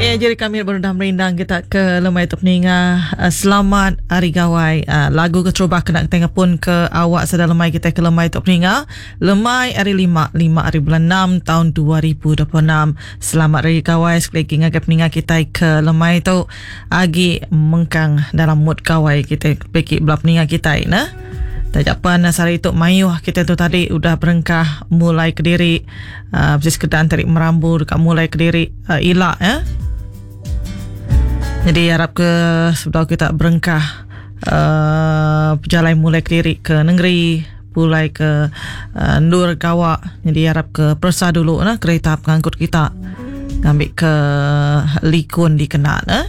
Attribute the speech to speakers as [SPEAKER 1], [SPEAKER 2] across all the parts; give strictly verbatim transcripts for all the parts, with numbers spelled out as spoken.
[SPEAKER 1] Eh, jadi kami berendah merindang kita ke lemai tu peninga. Uh, selamat Hari Gawai. Uh, lagu keterubah kena kita pun ke awak sedang lemai kita ke lemai tu peninga. Lemai hari lima, lima hari bulan enam tahun dua ribu dua puluh enam. Selamat Hari Gawai sekali lagi ngagai peninga kita ke lemai tu. Agi mengkang dalam mood gawai kita pergi belah peninga kita nah. Tajapan sehari itu mayuh kita tu tadi udah berengkah mulai ke diri. Uh, mesti sekedar tarik merambu dekat mulai ke diri, uh, ilak ya. Jadi harap ke sebelum kita berengkah, uh, berjalan mulai ke diri ke negeri, pulai ke, uh, Nur Gawak. Jadi harap ke persa dulu nah kereta pengangkut kita ngambil ke likun dikenal eh.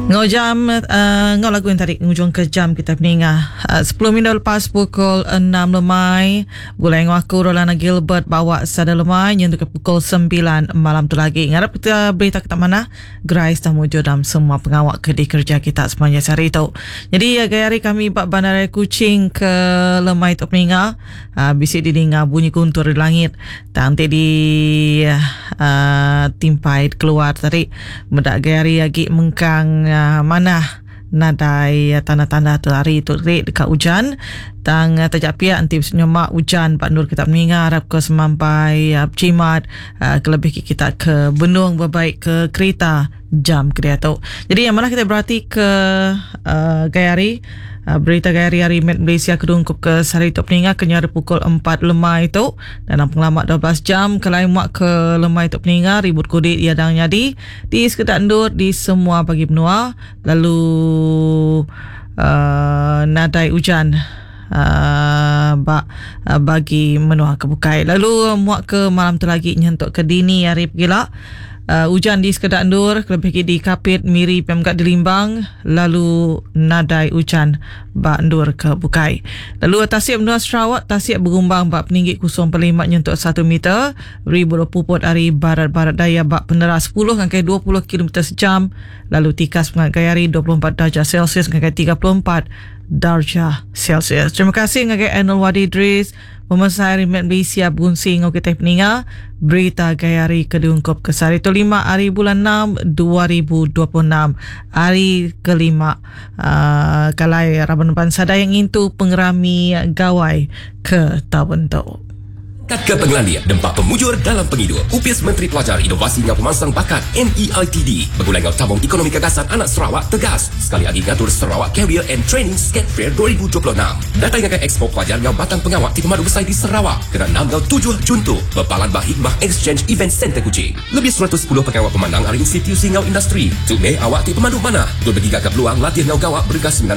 [SPEAKER 1] Ngau jam, uh, ngau lagu yang tadi ngujung ke jam kita meningah. Uh, sepuluh minit lepas pukul enam lemai. Boleh ngau aku Rolana Gilbert bawa sada lemai nyentuh ke pukul sembilan malam tu lagi. Ngarap kita berita kita mana Grace dah muncul dalam semua pengawak ke di kerja kita sepanjang hari itu. Jadi uh, gaya hari kami bak bandar Kuching ke lemai tu meningah. Uh, bisik didengar bunyi guntur di langit. Nanti di, uh, timpai keluar tadi. Mendak gaya hari lagi mengkang uh, mana nadai, uh, tanda-tanda tu hari tu rik dekat hujan. Tang, uh, tajak pihak nanti nyemak hujan Pak Nur kita meninggal harap ke semampai, uh, cimat, uh, kelebih kita ke benung berbaik ke kereta jam ke dia tu. Jadi yang mana kita berarti ke, uh, gaya hari, uh, berita gaya hari-hari Met Malaysia kedungkup ke sehari itu peninggal ke nyari pukul empat lemai itu dalam pengalaman dua belas jam ke lain muak ke lemai itu peninggal ribut kudik ia dang nyadi di sekedar endur di semua bagi benua lalu, uh, nadai hujan, uh, ba-, uh, bagi menua ke bukai. Lalu muak ke malam tu lagi nyentuk ke dini hari gila. Uh, hujan di sekedar endur, kelebih di Kapit, Miri, Pemkat di Limbang, lalu nadai hujan ba endur ke Bukai. Lalu tasik menua Sarawak, tasik bergumbang ba peninggi kosong perpuluhan lima nyentuk satu meter, ribu puput ari barat-barat daya ba peneras sepuluh hingga dua puluh kilometer sejam, lalu tikas pengagai hari dua puluh empat darjah Celsius hingga tiga puluh empat darjah Celsius. Terima kasih ngagai Anul Wadi Idris, Pemerintah Met Malaysia Bunsi ngau kita peninga berita gaya hari kedungkup ke sehari itu lima hari bulan enam dua ribu dua puluh enam hari kelima, uh, kalai Raban Bangsa yang intu pengerami gawai ke tahun tu.
[SPEAKER 2] Ke pengelandia dempak pemujur dalam penghidup. Upis Menteri Pelajar Inovasi Ngau Pemansang Bakat N E I T D bergulai ngau tabung ekonomi gagasan anak Sarawak tegas sekali lagi ngatur Sarawak Career and Training Skate Fair dua ribu dua puluh enam. Datang ngagai Expo Pelajar ngau Batang Pengawak di Pemadu Besar di Sarawak kena enam ngau tujuh Jun tu berpalan bah Hikmah Exchange Event Center Kuching. Lebih seratus sepuluh pengawak pemandang hari institusi ngau industri. Tu meh awak ti pemadu mana. Tu bagi gagap peluang latih ngau gawak bergas sembilan